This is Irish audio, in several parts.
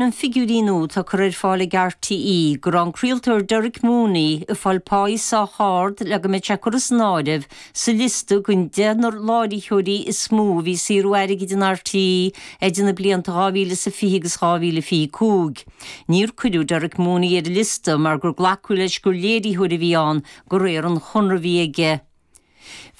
Na figiúirí nua atá curtha ar fáil ag RTÉ go raibh an craoltóir Derek Mooney ag fáil páí sách ard le go mbeadh sé curtha san áireamh sa liosta den deichniúr láithreoirí is mó a bhí ag saothrú airgid in RTÉ idir na blianta 2020 agus 2025. Níor cuireadh Derek Mooney ar an liosta mar gur glacadh leis gur léiritheoir a bhí ann de réir an chonradh a bhí aige.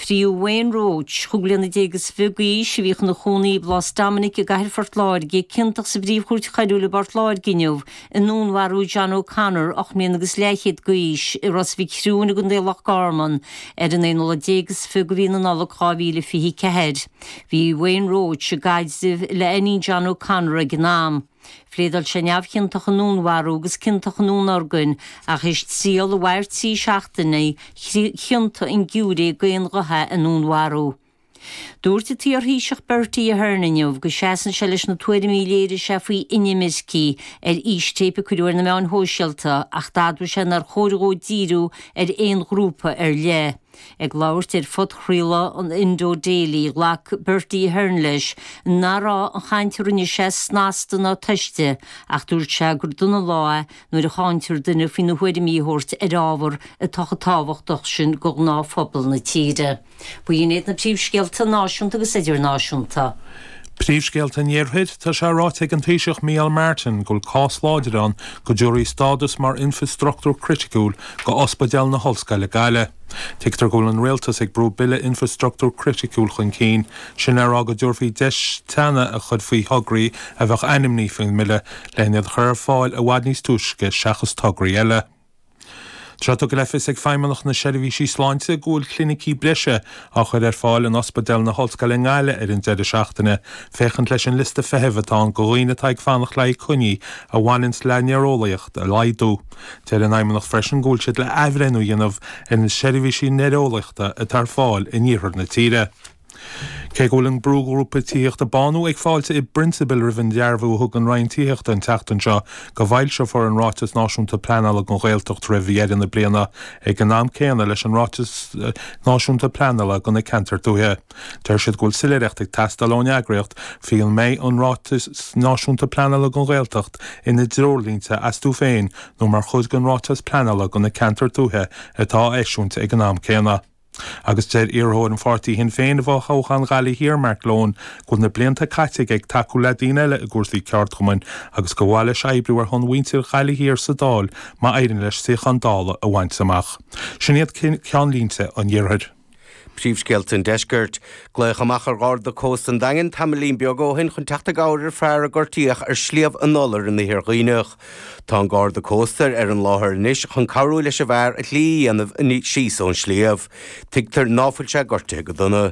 Fríodh Wayne Roche, 25 bliana d'aois, a bhíodh ina chónaí i bPlás Dominic i gcathair Phort Láirge, ciontach sa bPríomh-Chúirt Choiriúil i bPort Láirge inniu i ndúnmharú John O'Connor, 8 mbliana agus leathchéad d'aois, i Ros Mhic Thriúin i gContae Loch Garman ar an aonú lá déag is fiche de mhí na Nollag 2024. Bhí Wayne Roche i gcaidreamh le iníon John O'Connor ag an am. Phléadáil sé neamhchiontach i ndúnmharú agus ciontach i ndúnorgain ach théis triail a mhair 3 seachtaine, chiontaigh an giúiré d'aon ghuth é i ndúnmharú. Dúirt an t-iarThaoiseach Bertie Ahern inniu go seasann sé leis na tuairimí a léirigh sé faoi inimircigh ar fhístéip a cuireadh ar na meáin shóisialta ach d'admhaigh sé nár chóir dhó díriú ar aon ghrúpa ar leith. Ag labhairt ar phodchraoladh an Indo Daily, ghlac Bertie Ahern leis nach raibh an chaint a rinne sé snasta ná tomhaiste ach dúirt sé gur dona an lá é nuair a cháintear duine faoina thuairimí a thabhairt ar ábhar atá chomh tábhachtach sin do ghnáthphobal na tíre. B'in iad na príomhscéalta náisiúnta agus idirnáisiúnta. Príomhscéalta an Iarthair, Tá sé ráite ag an Taoiseach Micheál Martin go bhfuil cás láidir ann go dtabharfaí stádas mar infreastruchtúr criticiúil go Ospidéal na hOllscoile Gaillimh. Tuigtear go bhfuil an Rialtas ag brú Bille Infreastruchtúr Criticiúil chun cinn, sin le rá go dtabharfaí deis teannadh a chur faoi thograí a bheadh ainmnithe faoin mbille len iad a chur ar fáil i bhfad níos túisce seachas tograí eile. Tá sé tugtha le fios ag Feidhmeannacht na Seirbhísí Sláinte go bhfuil clinicí breise á chur ar fáil in Ospidéal na hOllscoile i nGaillimh ar an deireadh seachtaine féachaint leis an liosta feithimh atá ann do dhaoine atá ag fanacht le haghaidh coinní a bhaineanns le néareolaíocht a laghdú. Deir an Fheidhmeannacht freisin go bhfuil siad le athbhreithniú a dhéanamh ar na seirbhísí néareolaíochta atá ar fáil in iarthar na tíre. Cé go bhfuil an brúghrúpa tithíochta Bánú ag fáiltiú i bprionsabal roimh an dearbhú a thug an Roinn Tithíochta an tseachtain seo go bhfoilseofar an Ráiteas Náisiúnta Pleanála don Ghaeltacht roimh dheireadh na bliana ag an am céanna leis an Ráiteas Náisiúnta Pleanála do na Ceantair Tuaithe, deir siad go bhfuil soiléireacht ag teastáil ón eagraíocht faoi an mbeidh an Ráiteas Náisiúnta Pleanála don Ghaeltacht ina dtreoirlínte astu féin nó mar chuid den Ráiteas Pleanála do na Ceantair Tuaithe atá á eisiúint ag an am céanna. Agus deir iarrthóir an pháirtí Shinn Féin i bhfothoghchán Ghaillimh Thiar, Mark Lohan, go bhfuil na blianta caite aige ag tacú le daoine eile i gcúrsaí ceardchumainn agus gur mhaith leis oibriú ar shon mhuintir Ghaillimh Thiar sa Dáil má éiríonn leis suíochán Dála a bhaint amach. Sin iad ceannlínte an Iarthair. Príomhscéalta an Deiscirt. Glaodh amach ar Gharda Cósta an Daingin tamaillín beag ó shin chun teacht i gcabhair ar fear a gortaíodh ar Shliabh an Iolair in Iarthar Dhuibhneach. Tá an Garda Cósta ar an láthair anois chun cabhrú leis an bhfear a shlí a dhéanamh síos ón sliabh. Tuigtear ná fuil sé gortaithe go dona.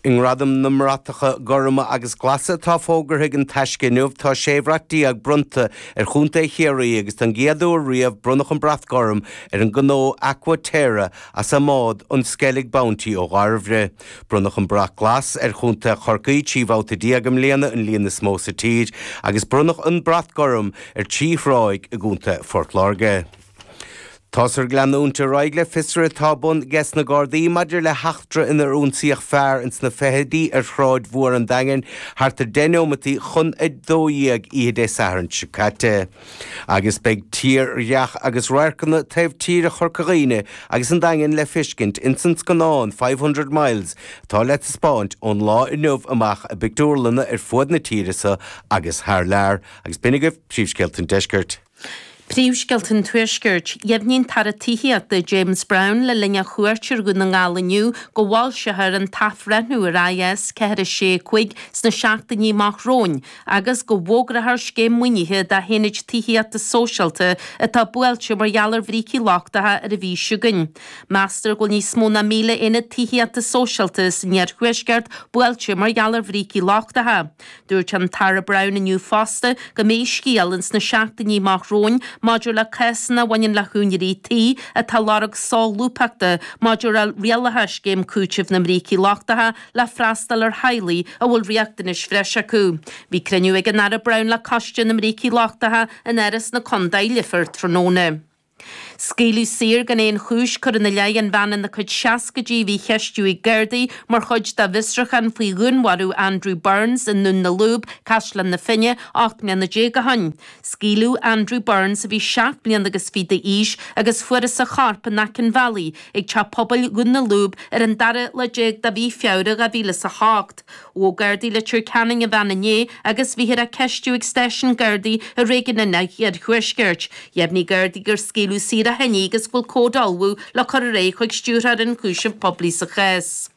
I nGradaim na mBratacha Gorma agus Glasa atá fógartha ag An Taisce inniu tá 16 bhrat bronnta ar Chontae Chiarraí agus don gcéad uair riamh bronnadh an Brat Gorm ar an ghnó Aqua Terra as a mbád an Skellig Bounty ó Dhairbhre. Bronnadh an Brat Glas ar Chontae Chorcaí 13 bhabhta i mbliana, an líon is mó sa tír, agus bronnadh an Brat Gorm ar thrí thráigh i gContae Phort Láirge. Táthar ag leanúint ar aghaidh le fiosruithe atá ar bun ages na Gardaí maidir le heachtra inar ionsaíodh fear ins na fichidí ar Shráid Mhór an Daingin thart ar 10 neomataí chun 12 oíche Dé Sathairn seo caite. Agus beidh tírdhreach agus radharcanna taobh tíre Chorca Dhuibhne agus an Daingin le feiscint ins an scannán 500 Miles atá le taispeáint ón lá inniu amach i bpictiúrlanna ar fuaid na tíre so agus thar lear. Agus b'in agaibh príomhscéalta an deiscirt. Príomhscéalta an Tuaiscirt. Dheimhnigh an tAire Tithíochta James Browne le linn a chuairt ar Dhún na nGall inniu go bhfoilseofar an t-athbhreithniú ar IS 4 6 5 sna seachtainí amach romhainn agus go bhfógrófar scéim maoinithe do haonaid tithíochta sóisialta atá buailte mar gheall ar bhrící lochtacha ar an mhí seo chugainn. Meastar go bhfuil níos mó ná 1,000 aonad tithíochta sóisialta san iarthuaisceart buailte mar gheall ar bhrící lochtacha. Dúirt an tAire Browne inniu fosta go mbeidh scéal ins na seachtainí amach romhainn maidir le cásanna a bhaineann le húinéirí tí atá ag lorg solúbthachta maidir le rialacha Scéim Cúitimh na mBrící Lochtacha le freastal ar theaghlaigh a bhfuil riachtanais bhreise acu. Bhí cruinniú ag an Aire Browne le Coiste na mBrící Lochtacha in Áras na Condae, Leifear tráthnóna. Scaoileadh saor gan aon chúis curtha ina leith an bhean ina cuid seascaidí a bhí á cheistiú ag Gardaí mar chuid dá bhfiosrúchán faoi dhúnmharú Andrew Burns i nDún na Lúb, Caisleán na Finne, 18 mbliana ó shin. Scaoileadh Andrew Burns, a bhí seacht mbliana agus fiche d'aois, agus fuarthas a chorp in aice an bhealaigh ag teach pobail Dhún na Lúb ar an dara lá déag de mhí Feabhra 2008. Ghabh Gardaí Leitir Ceanainn an bhean inné agus bhíthear á ceistiú ag stáisiún Gardaí i réigiún an Iarthuaiscirt. Dheimhnigh Gardaí gur scaoileadh saor ó shin í agus go bhfuil comhad á ullmhú le cur ar aghaidh chuig Stiúrthóir Ionchúiseamh Poiblí sa chás.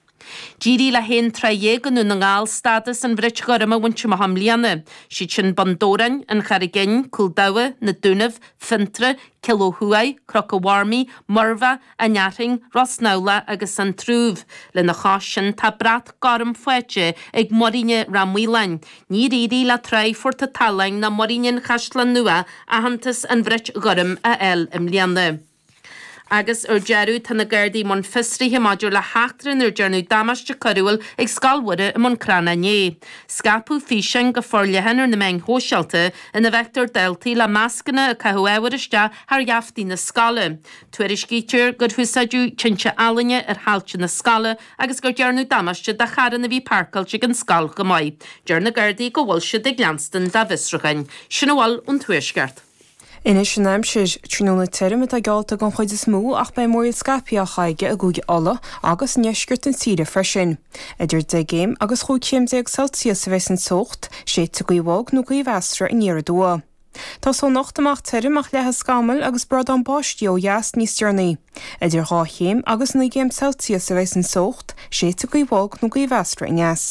D'éirigh le haon trá dhéag i nDún na nGall stádas an bhrait ghoirm a bhaint amach i mbliana. Siad sin Bun Dobhráin, An Charraig Fhinn, Cúl Dabha, Na Dúnaibh, Fionntrá, Cill Ó Thuaidh, Cnoc an Mharmaí, Muirbheach, An Fhearthainn, Ros nAmhlaigh agus An Trúbh. Lena chois sin tá brat gorm faighte ag Muiríne Ráth Maoláin. Níor éirigh le Tráigh Phort an tSalann ná Muiríne an Chaisleáin Nua aitheantas an bhrait ghoirm a fháil i mbliana. Agus ar deireadh, tá na Gardaí i mbun fiosraithe maidir le heachtra inar dearnadh damáiste coiriúil ag Scoil Mhuire i mBun Cranncha inné. Scaipeadh físeáin go forleathan ar na meáin shóisialta ina bhfeictear daltaí le mascanna ag caitheamh ábhair isteach thar gheaftaí na scoile. Tuairiscítear gur húsáideadh tinte ealaíne ar thailte na scoile agus gur dearnadh damáiste do charranna a bhí páirceáilte ag an scoil chomh maith. Deir na Gardaí go bhfuil siad ag leanstan dá bhfiosrúcháin. Sin a bhfuil ón Tuaisceart. Anois an aimsir. Tráthnóna tirim atá geallta don chuid is mó ach beidh múraíl scaipthe á chaitheamh i gCúige Uladh agus i ndeisceart na tíre freisin. Idir 10 gcéim agus 15 chéim Celsius a bheas an teocht, séidfidh gaoth bhog nó gaoth mheasartha aniar aduaidh. Tosóidh anocht amach tirim ach leathfaidh scamaill agus brádán báistí ó dheas níos deireanaí. Idir 2 chéim agus 9 gcéim Celsius a bheas an teocht, séidfidh gaoth bhog nó gaoth mheasartha aneas.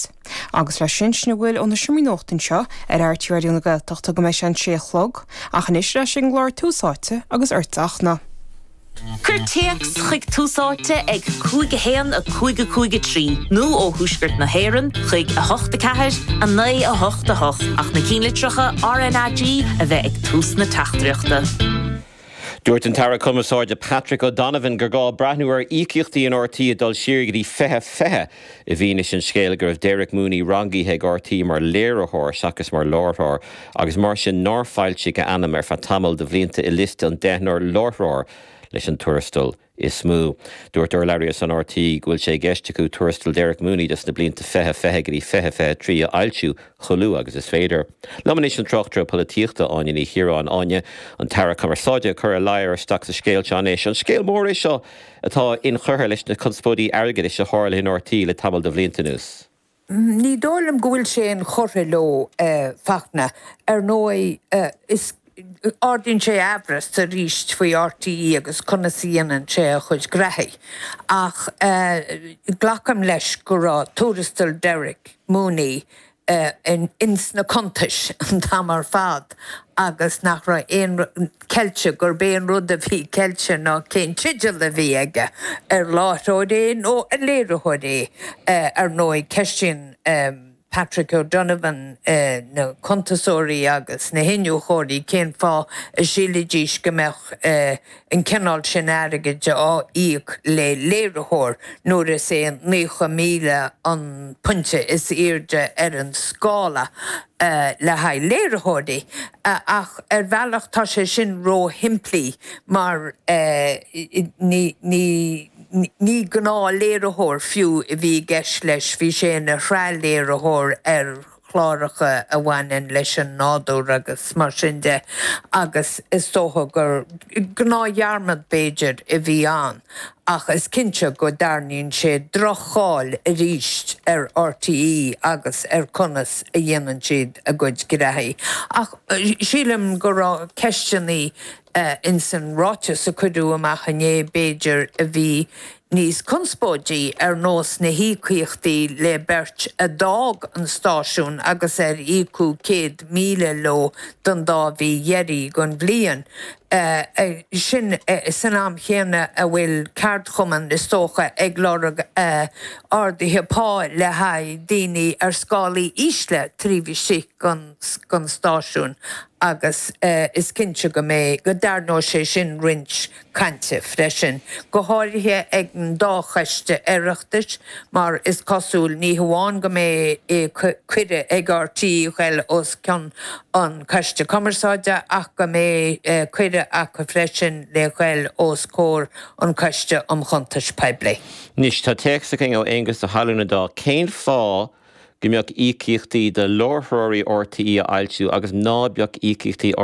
Agus leis sin, sin a bhfuil ó na seomraí nuachta anseo ar RTÉ Raidió na Gaeltachta go mbeidh sé an 6 a chlog, ach anois ar ais ag an gclár Tús Áite agus ortsa a Fhachtna. Cuir téacs chuig Tús Áite ag 5 1 5 5 3 nó ó thuaisceart na hÉireann chuig 8 4 9 8 8 ach na cinnlitreacha RnaG a bheith ag tús na teachtaireachta. Dúirt an tAire Cumarsáide Patrick O'Donovan gur gá breathnú ar íocaíochtaí in RTÉ ag dul siar go dtí 2020 i bhfianaise an scéil go raibh Derek Mooney rangaithe ag RTÉ mar léiritheoir seachas mar láithreoir agus mar sin nár foilsíodh a ainm ar feadh tamall de bhlianta i liosta an deichniúr láithreoir leis an tuarastal is mó. Dúirt urlabhraí ar son RTÉ go bhfuil sé i gceist acu tuarastal Derek Mooney dos na blianta 2020 go dtí 2023 a fhoilsiú chomh luath agus is féidir. Liom anois an tráchtaire polaitíochta, Áine Ní Chiaráin. Áine, an tAire Cumarsáide ag cur a ladhar isteach sa scéal seo anois. An scéal mór é seo atá inchurtha leis na conspóidí airgeadais a tharla in RTÉ le tamall de bhlianta anuas? Ní dóigh liom go bhfuil sé inchurtha leo, a Fachtna. Ar ndóigh, is ardaíonn sé aimhreas arís faoi RTÉ agus conas a dhéanann sé a chuid graithí. Ach glacaim leis go raibh tuarastal Derek Mooney ins na cuntais an t-am ar fad agus nach raibh aon rud ceilte, gurb é an rud a bhí ceilte ná cén teideal a bhí aige, ar láithreoir é nó ar léiritheoir é. Ar ndóigh, ceistíonn Patrick O'Donovan na cuntasóirí agus na hiniúchóirí cén fáth a sílfidís go mbeadh an cineál sin airgid á íoc le léiritheoir nuair is é 90,000 an pointe is airde ar an scála le haghaidh léiritheoirí. Ach ar bhealach tá sé sin ró-shimplí mar ní ní gnáthléiritheoir fiú a bhí i gceist leis, bhí sé ina shraithléiritheoir ar chláracha a bhaineann leis an nádúr agus mar sin de agus is dócha gur gnáthdhearmad b'fhéidir a bhí ann ach is cinnte go dtarraingíonn sé droch-cháil arís ar RTÉ agus ar conas a dhéanann siad a gcuid graithí. Ach sílim go raibh ceisteannaí ins an ráiteas a cuireadh amach inné, b'fhéidir, a bhí níos conspóidí, ar nós na híocaíochtaí le beirt a d'fhág an stáisiún agus ar íocadh 100,000 leo don dá mhí dheiridh den bhliain. Sin san am chéanna a bhfuil ceardchumainn, is dócha, ag lorg arduithe pá le haghaidh daoine ar scálaí ísle taobh istigh den stáisiún agus is cinnte go mbeidh, go dtarraingeoidh sé sin roinnt cainte freisin, go háirithe ag an dá choiste Oireachtais, mar is cosúil, ní hamháin go mbeidh cuireadh ag RTÉ a ghoil os cionn an Coiste Cumarsáide ach go mbeidh cuireadh. aire acu freisin le ghoil os comhair an Coiste um Chuntais Poiblí. Anois, tá téacs againn ó Aonghus Ó hAlmhain an Dáil. Cén fáth go mbeadh íocaíochtaí do láithreoirí RTÉ á fhoilsiú agus ná beadh íocaíochtaí.